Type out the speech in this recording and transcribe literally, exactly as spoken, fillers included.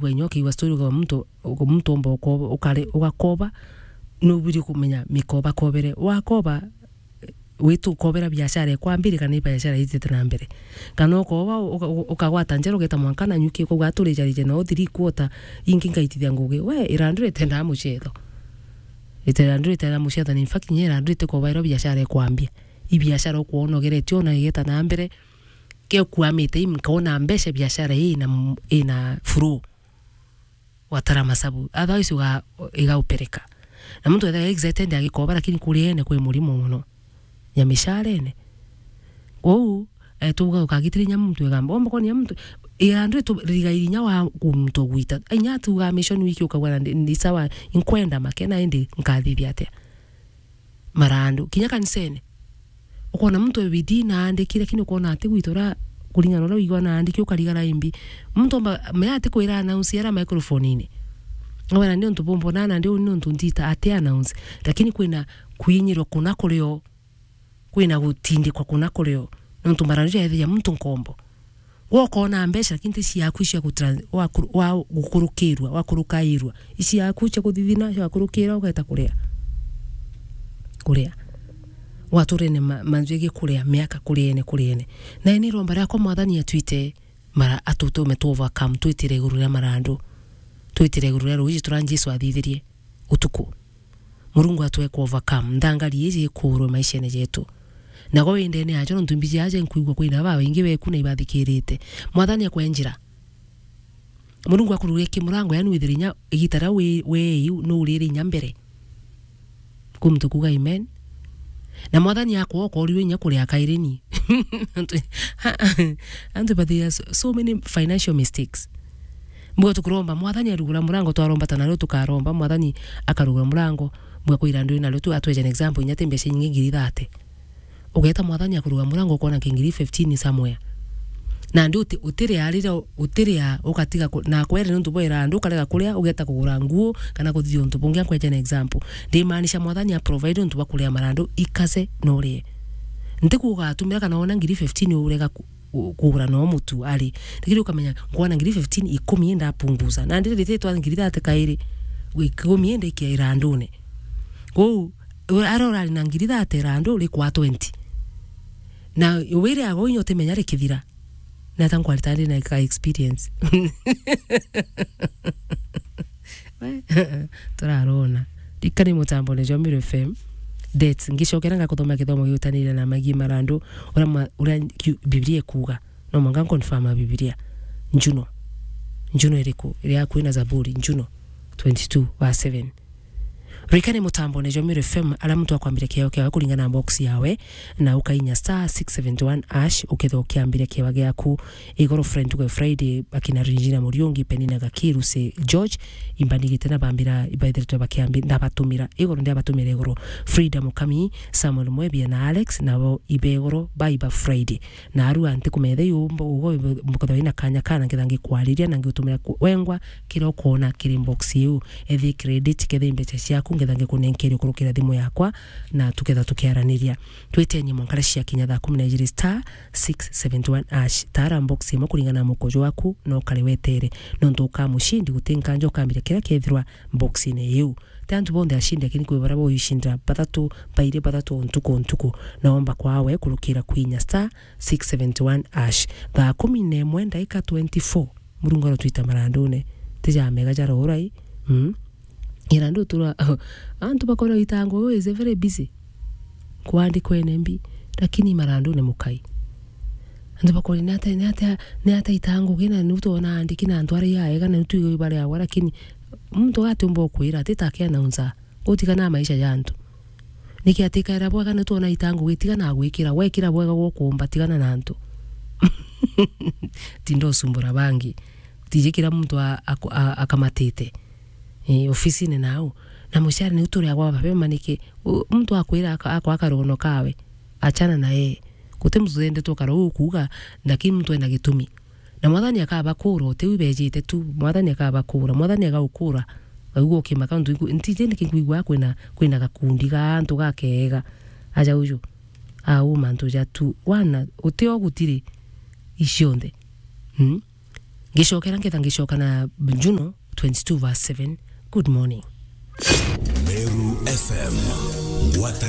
Wenya ukiigua story uga muntu, muntu omba ukoba, ukare, ugakoba, nubwiri kumenya mikoba kobere. Wakoba, witu ukobera biashara ikwambire kana i biashara itite na mbere. Kana ukoba, uka-, uka-, ukagwata njara ugeta mwanka na nyuki, ukauga, "Aturijarije no three quarter, ingi ngaitithia ngugi." We, irandu ritendaa mucetho. Ite-, irandu ritendaa mucetho, na in fact, kinya irandu ritikobairwa biashara ikwambia. I biashara ukwona ugeretie ona igeta na mbere, ke ukuamite i, nkona mbeca biashara ii na m-, ina flow. Watara masabu. Otherwise uga-, igaupereka. Na muntu ethagirwa excited agikoba, lakini kuriene kwi murimo mono. Ya misharene. Kwou, eh, tuga ukagitira inya muntu egamba. Omba kwona inya muntu, irandu tu-, riga inya wa ku muntu gwita. Inya tuga mission week ukauga na ndi, ndi sawa, inkwenda makena indi nkathithia atia? Marandu. Kinya kanisene. Ukona muntu e bidii na andiki, lakini ukona ati gwitora kuringana na uria wigua na andiki ukarigara imbi. Muntu omba, mea ati kwira announce ara microphone-ini. Ngawira ni untu bumbona na ndi uni ni untu ntita ati announce. Lakini kwina kwinyirwa kuna kurio, kwina gutindikwa kuna kurio. Nontu marandu jaethia muntu nkombo. Gwe ukona mbeca, lakini ti ciaku cia gutran-, wa kuru-, wa gukurukirwa, wa kurukairwa. Ici yaku cia kuthithina, cia gukurukira, ugeta kuria. Kuria. Gwaturene ma-, manju egi kuria, miaka kuriene, kuriene. Na ni iromba riakwa Mwathani atwite mara-, atutume tu overcome, twitire iguru ria marandu. Twitire iguru ria ruuji turia Jesu athithirie utuku. Murungu atwe ku overcome. Nthangari iji ikurwe maishene jetu. Nago windene yajo, nontu mbiji aja nkwigua kwina babaingi beku na ibathikirite. Mwathani akwe njira. Murungu akururie kimurango, yani withire inya igita ria wi-, wei, nuurire inya mbere. Ku muntu kuga amen. Na Mwathani akwa ukorirwe inya kuria kairi ni. Antu, antu bathia so, so many financial mistakes. Mbuga tukuromba, Mwathani arugura murango, twaromba ta nario tukaromba, Mwathani akarugura murango, mbuga kwira ndui nario tu, atweje an example, inya ti mbeca inyingi ngiri thate. Ugeta Mwathani akuruga murango, ukona ki ngiri fifteen somewhere. Na ndi uti-, utiria riria, utiria ugatiga ku-, na kwere nontu bwera andu ukarega kuria, ugeta kugura nguo, kana kuthithia untu bungi. Ankweje an example. Ndimaanisha Mwathani a provide untu bwa kuria marandu, ikace na urie. Nti kuuga atumira kana wona ngiri fifteen urega ku-, ku-, kugura no mutu ari. Lakini ukamenya, nkona ngiri fifteen, ikumi ndapunguza. Na ndiri rititwa ngiri thate kairi, ikumi indi ikia irandune. Kwou, we-, aria urari na ngiri thate irandu, rikwa twenty. Na wire ago inya utimenya rikithira. Nata nkwarita ndi na ka experience. Turarona. Rikani mutambone jwa Meru F M. Dates. Ngicokera ngakuthomera kithomo giutanire na magi marandu. Uria ma-, uria kiu-, Biblia ikuuga. No mwanka nconfirma Biblia. Njuno. Njuno iriku? Iria kwina Zaburi. Njuno twenty-two verse seven. Rikani mutambone jwa Meru F M, aria muntu akwambire kiao kiawe kuringana na box yawe, na ukainya star six seventy one hash, ukethira ukiambire kiawa giaku. Igoro friend tuge Friday, bakina Regina Muriungi, Penina Gakiru, se George, imbanigite na bambira, ibaithiritwe bakiambi-, ndabatumira. Igoro ndiabatumira igoro. Frida Mukami, Samuel Mwebia na Alex, nabo ibe igoro, baiba Friday. Na arua nti kumetha yu mbo-, ugo mukethwa ina kanya kana ngetha ngikwariria na ngiutumira ku-, wengwa kiria ukona kiri box iu. Ethi credit ketha i mbeca ciaku ngetha ngikunenkeria kurukira thimu yakwa na tuketha tukiaraniria. Twitenie mwankara cia kinya thaa kumi na ijiri star six seventy one hash. Tara box imwe kuringana na mukojo waku na ukare wetere. Nontu ukamucindi guti nkanja ukambira kiria kethirwa box-ini iu. Ti antu bonthe acindi, lakini kwi baria boicindira bathatu, bairi bathatu o ntuku o ntuku. Na omba kwawe kurukira kwinya star six seventy one hash. Thaa kumi na imwe ndaika twenty-four, Murungu arotwita marandune. Ti ja mega ja rorai. Mm. Irandu tura, antu bakona itango, we is very busy. Kwandikwa N M B, lakini marandune mukai. Antu bakori ni ata, ni ata, ni ata itango gina ni utona andiki na antu aria aega na tu bari awa, lakini muntu atiumba kwira ati take announcer. Utigana na maisha ya antu. Niki atikaira bwega ni twona itango gitiga na gwikira, wekira bwega gwo kuumba tigana na antu. Tinda usumbura bangi. Tiji kira muntu a-, aku-, a-, akamatite. Eh, ofisini nau. Na muciari ni uturi agwa mapema niki? U-, muntu akwira aka-, akwa karono kawe. Achana na yeye. Guti muntu twendetwe ukara ukuuga, lakini muntu ena gitumi. Na Mwathani akabakura, uti u bejite tu, Mwathani akabakura, Mwathani agaukura. Aigua ukimaka untu iku-, ntiji niki nkwigua kwina, kwina gakundi ga antu gakega. Aja uju. Au mantu ja tu. Wana, uti o gutiri icionthe. Hmm? Ngicokera, ngetha ngicoka na Juno twenty-two verse seven. Good morning. Meru F M, ngwataniro